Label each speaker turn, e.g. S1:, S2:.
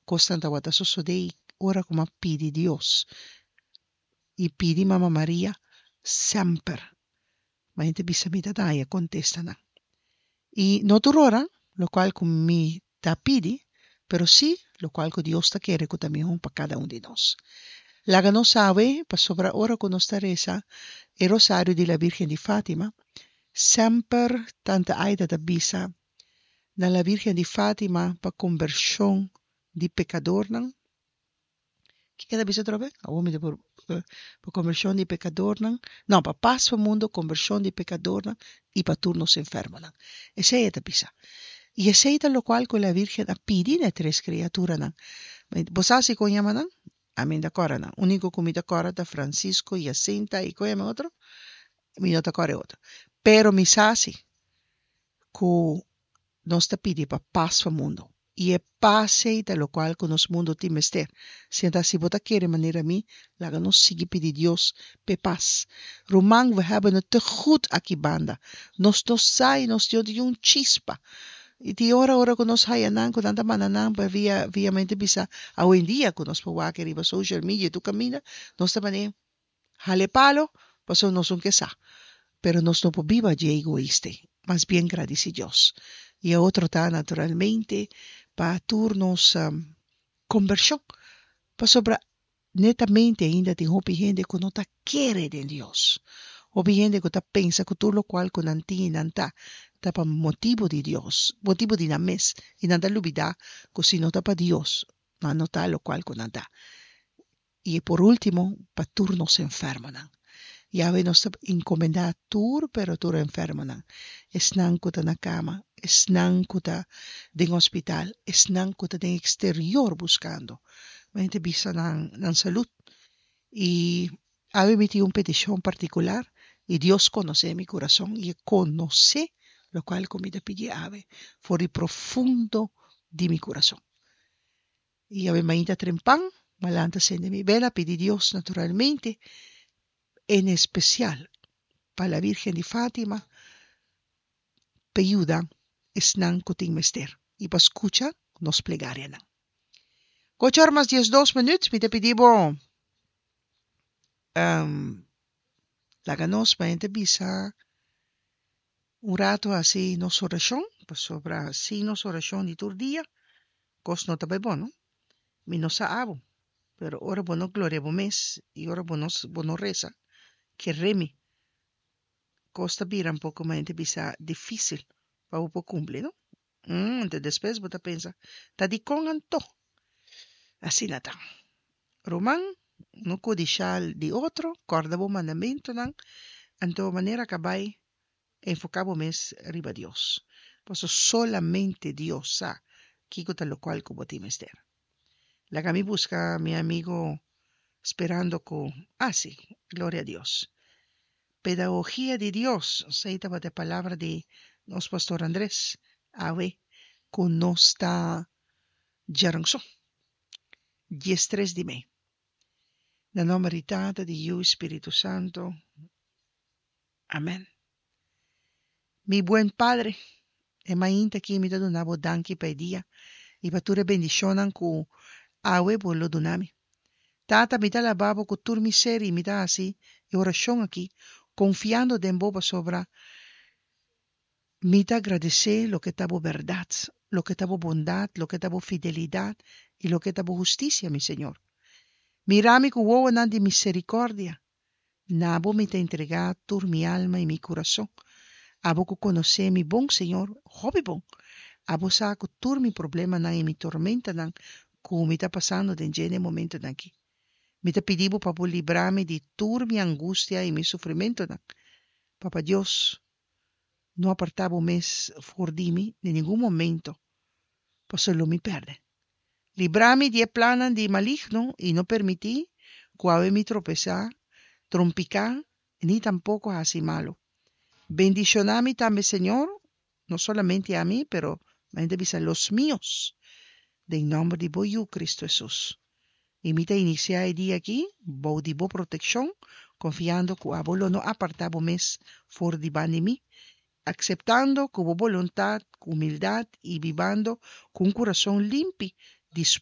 S1: Kosnan tabata sosodé i ora ku mi a pidi Dios i pidi Mama Maria semper mi a bisa mi ta haña kontestanan. I no tur ora lokual ku mi ta pidi, pero sí lokual ku Dios ta kere ku ta mihó pa kada un di nos. Laga nos sabe pasobra ora ku nos ta resa e Rosario di la Virgen di Fatima, semper Tanta Aida ta bisa na la Virgen di Fatima pa kombershon di pekadornan. Kiko e ta bisa atrobe? Awor mi ta por pa kombershon di pekadornan, no, pa pas pa mundu, kombershon di pekadornan i pa tur nos enfermonan. Esei e ta bisa. I esei ta lokual ku la Virgen a pidi na e tres kriaturanan. Bo sa si kon yama nan? Ami no ta kòrda nan. Úniko ku mi ta kòrda ta Francisco, Jacinta i kon yama e otro? Mi no ta kòrda e otro. Pero mi sa si ku nos ta pidi pa pas pa mundu. I e pas ei ta lokual ku nos mundu tin mester. Sinta si bo ta kere manera mi, laga nos sigui pidi Dios p'e pas. Ruman, we hebben het te goed aki banda. Nos no sa i nos no tin un chispa. I tin ora ora ku nos haya nan ku nan ta manda nan pa via via mente bisa awendia ku nos por wak riba social media tur kaminda, nos ta manera Hale palo, pasobra nos un ke sa. Pero nos no por biba dje egoista ei. Mas bien gradisi Dios. I e otro ta naturalmente pa tur nos kombershon. Pasobra netamente ainda tin hopi hende ku no ta kere den Dios. Hopi hende ku ta pensa ku tur lokual ku nan tin i nan ta, ta pa motibu di Dios, motibu di nan mes. I nan ta lubida ku si no ta pa Dios, nan no ta lokual ku nan ta. I por último, pa tur nos enfermonan. Yahweh nos ta encomendá tur pero tur enfermonan, esnan cu ta na cama, esnan cu ta den hospital, esnan cu ta den exterior buscando. Mi ta bisa nan nan salud. I awe mi tin un peticion particular i Dios conoce mi curason i e conoce locual cu mi ta pidi awe for di profundo di mi curason. I awe mainta trempan, m'a lanta sende mi bela pidi Dios naturalmente, en especial pa la Virgen di Fatima, p'e yuda esnan cu tin mester i pa scucha nos plegarianan. Ocho or mas diesdos minuut, mi ta pidi bo laga nos mainta bisa un rato haci nos oracion, pasobra sin nos oracion di tur dia, Kos no ta bai bon no. Mi no sa abo, pero ora bo no gloria bo mes i ora bo no bo no resa, kere mi, kos ta bira un poko mente bisa difisil pa bo por kumpli no. Anto despues bo ta pensa, ta dikon anto? Asina ta. Ruman, no kudishá di otro, kòrda bo mandamentunan, anto manera ka bai Enfoká bo mes riba Dios, pasobra solamente Dios sa kiko ta lokual ku bo tin mester. Laga mi buska mi amigo sperando ku, ah si, gloria a Dios. Pedagogia di Dios, esei tabata e palabra di nos pastor Andres awe ku nos ta djaranson, diestres di mei. Na nomber di Tata, di Yu i Spiritu Santu. Amen. Mi buen Padre, e mainta aki mi ta duna bo danki pa e dia i pa tur e bendishonnan ku awe bo lo duna mi. Tata, mi ta alabá bo ku tur mi ser i mi ta hasi e orashon aki konfiando den bo pasobra mi ta agradesé loke ta bo bèrdat, loke ta bo bondat, loke ta bo fidelidat i loke ta bo hustisia, mi Señor. Mira mi ku wowonan di miserikòrdia. Na bo mi ta entregá tur mi alma i mi kurason. Abo ku konosé mi bon, Señor, hopi bon. Abo sa ku tur mi problemanan i mi tormentanan ku mi ta pasando den dje n'e momentunan akí. Mi ta pidi bo pa bo libra mi di tur mi angustia i mi sufrimentunan. Papa Dios, no apartá bo mes for di mi den ningun momento, pasobra lo mi pèrdè. Libra mi di e plannan di maligno i no permití ku awe mi tropesá, trompiká ni tampoko hasi malu. Bendishoná mi tambe, Señor, no solamente ami, pero mi ta bisa los mios, den nòmber di bo Yu, Kristu Hesus. I mi ta inisiá e dia akí bou di bo protekshon, konfiando ku abo lo no apartá bo mes for di banda di mi, akseptando ku bo boluntat ku humildat i bibando ku un kurason limpi, dispuesto.